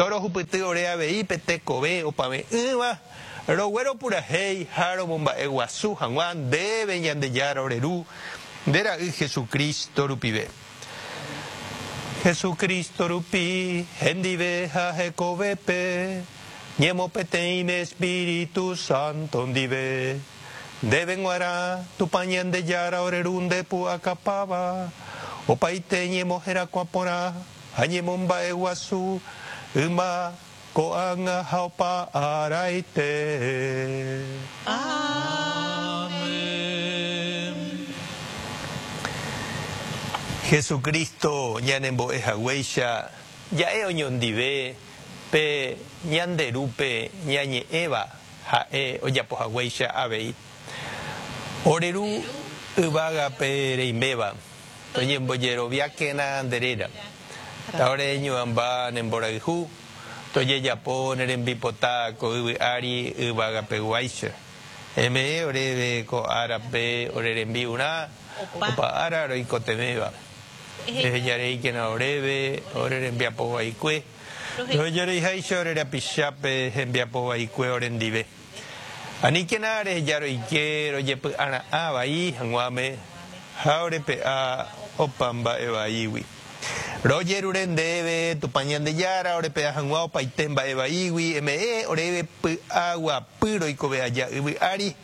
Torohupyty ore avei pe tekove opave'ỹva, rogueropurahéi ha romomba'eguasu hag̃ua ndéve Ñandejára ore Ru, nde Ra'y Jesucristo rupive. Jesucristo rupi, hendive ha hekovépe, ñemopeteĩme Espíritu Santo ndive. Ndéve g̃uarã, Tupã Ñandejára ore Ru nde pu'akapáva, opaite ñemoherakuã porã ha ñemomba'eguasu yma, ko'ág̃a ha opa araite. Amén. Jesucristo ñanembo'e haguéicha ja'e oñondive pe ñande Rúpe ñañe'ẽva Ha'e ojapo haguéicha avei. Ore Ru yvágape reiméva, toñembojeroviákena nde réra. Ta ore ñu'ãmba ne mborayhu, tojejapo ne rembipota ko yvy ári yvagapeguáicha. Eme'ẽ oréve ko árape ore rembi'urã opa ára roikotevẽva. Ehejareíkena oréve ore rembiapo vaikue. Rohejareiháicha ore rapichápe hembiapo vaikue orendive. Aníkena reheja roike rojepy'ara'ã vai hag̃uáme ha orepe'a opa mba'e vaígui. Rojerure ndéve, Tupã Ñandejára, orepe'a hag̃ua opaite mba'e vaígui, eme'ẽ oréve py'aguapy roikove aja yvy ári,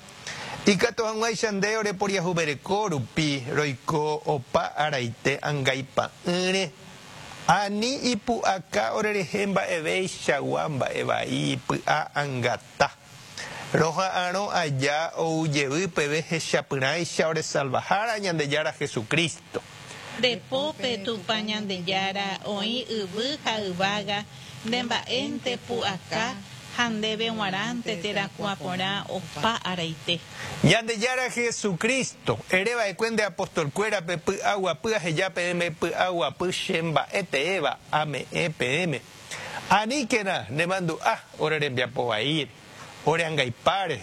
ikatu hag̃uáicha nde oreporiahuvereko rupi roiko opa araite angaipa'ỹre. Ani ipu'aka orerehe mba'eveichagua mba'e vai py'a angata. Roha'arõ aja ou jevy peve hechapyrãicha ore Salvahára Ñandejára Jesucristo. Nde pópe Tupã Ñandejára oĩ yvy ha yvága, nde mba'énte pu'aka ha ndéve g̃uarãnte terakuã porã opa araite. Ñandejára Jesucristo, ere va'ekue nde apostolkuérape py'aguapy aheja peẽme py'aguapy che mba'e teéva ame'ẽ peẽme. Aníkena ne mandu'a ore rembiapo vaíre, ore angaipáre.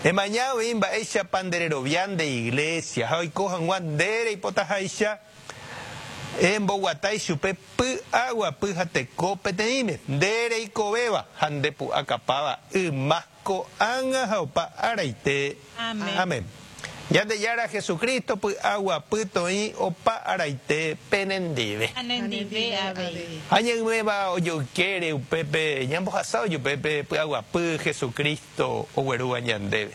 Emaña avei mba'éichapa nde rerovia nde iglésia ha oiko hag̃ua nde reipotaháicha Emboguata ichupe py'aguapy ha teko peteĩme, nde reikovéva ha nde pu'akapáva yma, ko'ág̃a ha opa araite. Amén. Ñandejára Jesucristo py'aguapy toĩ opa araite penendive. Ha nendive avei. Ha ñaiméva ojoykére upépe ñambohasa ojupe pe py'aguapy Jesucristo oguerúva ñandéve.